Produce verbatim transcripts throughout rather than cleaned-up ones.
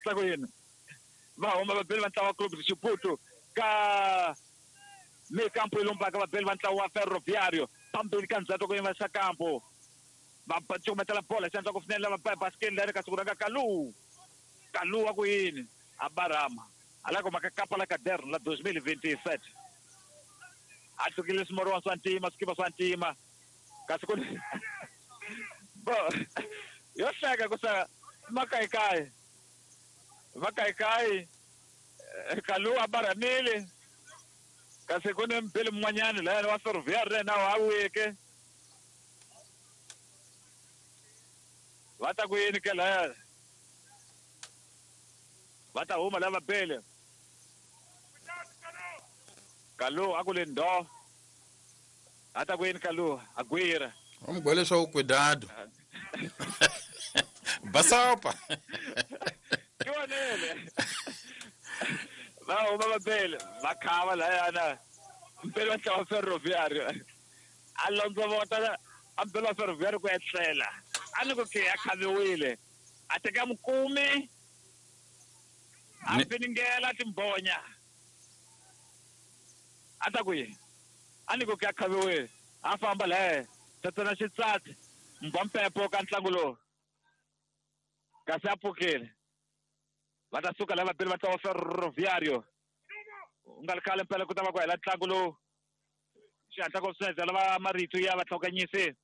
Ta ku yini va huma vabeli va ntlawa wa Clube de Chibuto ka meio campo e lombaka vabeli va ntlawa wa Ferroviário phambili ka ndzhaku ku yima xa kampo va cukumetela bola xandla ku finela va basikeni leri kasi ku rhanga Kalu Kalu wa ku yini a barama ala ku maka kapa la caderno la dois mil e vinte e sete a hlukile swimoriwa swa ntima swikipa swa ntima kasi ku bo yo hleka ku sa makayikayi makayikayi Kalu a baramile kasi ku ni mbili mun'wanyani layani wa Ferroviário na wa weke va ta ku yini ke laya va ta huma lava bele Kalu a ku le ndo a ta ku yini Kalu a gwira va mu gwele swa ku cuidado basopa ke vonele va huma va bele va khava layana mpele wa ntlawa Ferroviário a londzovota a mpele wa Ferroviário ku etlela a ni ku ke a khaviwile a teka mukumi a finingela timbonya a ta ku yini a ni ku ke a khaviwile a famba laye tatana xitsatsi mbwa mpepo ka ntlangu lowu kasi a pfukile va ta suka lava vabeli va ntlawa Ferroviário u nga ri khale mpela ku ta va ku hela ntlangu lowu xihatla ku swinene lava marito ya vahlokanyisi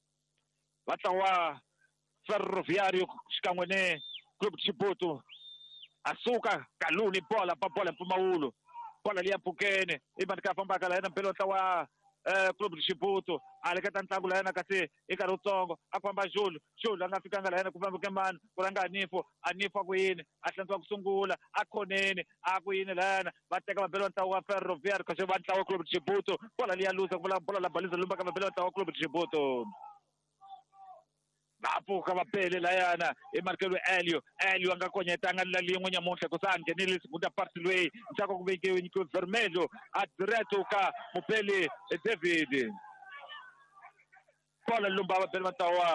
va ntlawa Ferroviário xikan'we ni Clube de Chibuto a suka Kalu ni bola pa bola mpfumawulo bola liya pfukeni i mani ka fambaka la yena mpela wa ntlawa Clube de Chibuto a leketa ntlangu la yena kasi i nkarhi wutsongo a ku famba Julu Julu a nga fikanga la yena ku famba mani ku rhanga Anifo Anifo a ku yini a hlantswa ku sungula a khoneni a ku yini la yena va teka vabeli va ntlawa wa Ferroviário kasi va ntlawa Clube de Chibuto bola liya luza ku vula bola la baliza lumbaka vabeli va ntlawa Clube de Chibuto va pfuka va bele layana i markelo Elio Elio a nga konyetanga la lin'we nyamuntlha ku sa a nghenile segunda parte loyi ndzhaku ku vekiwe nyikiwe vermelho a direto ka mupeli David bola lumba va bele va ntlawa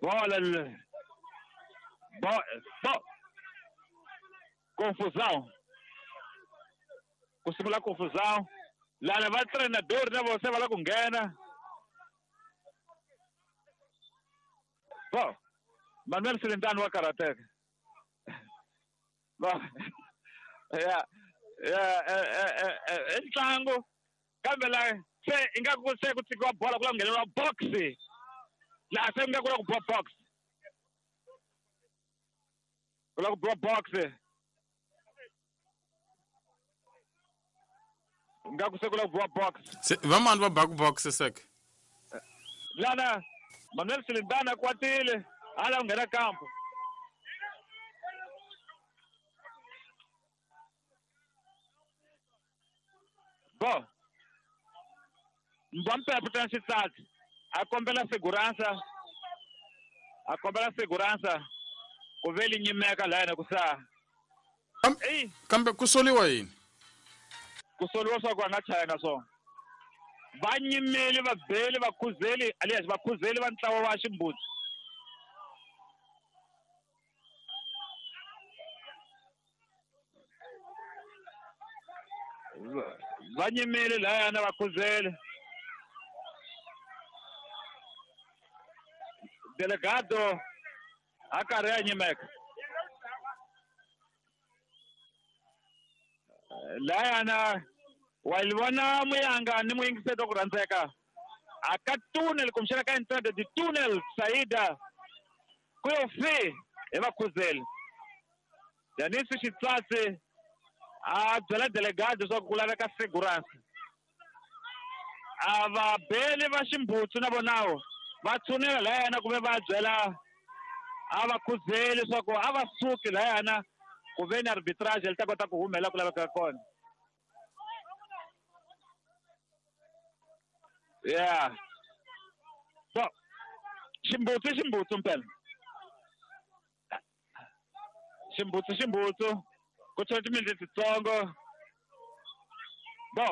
bola bo bo confusão ku sungula confusão lana va treinador na vona se va lava ku nghena. Bom, Manuel Silindano wa karateka. Bom, ya ya eh ntlangu kambe la se ingaku se ku tshikiwa bola ku la ngheneriwa box la se ingaku la ku biwa box ku la ku biwa box ingaku se ku la ku biwa box se vamani va baku box sek lana Manuel Silindana kwatile ala nghena kampo bo Mbampe ta xitsatsi a kombela segurança a kombela segurança ku ve li nyimeka la yena ku sa kambe ku soliwa yini ku soliwa swa ku a nga chayanga swona va nyimeli va beli va khuzeli alias va khuzeli va ntlawa wa Ximbutsi va nyimeli layana va khuzeli delegado a karhi a nyimeka layana wa li vona muyanga ni muyingiseti ku rhandzeka a ka tunnel kumbexana ka entrada de tunnel saída ku yo fi hi vakhuzeli Danisi Xitsatsi a byela delegado leswaku ku laveka segurança a va beli va Ximbutsu na vonawo va tshunela layana kumbe va byela a va khuzeli leswaku a va suki layana ku ve ni arbitrage li ta kota ku humela ku laveka kona. Yeah. So, Ximbutsu Ximbutsu mpela. Ximbutsu Ximbutsu ku tshwela timinete titsongo. Bo,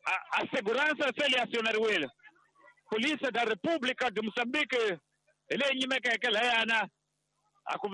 a, a segurança se li acionariwile. Polícia da República de Moçambique hi leyi nyimekeke layana a ku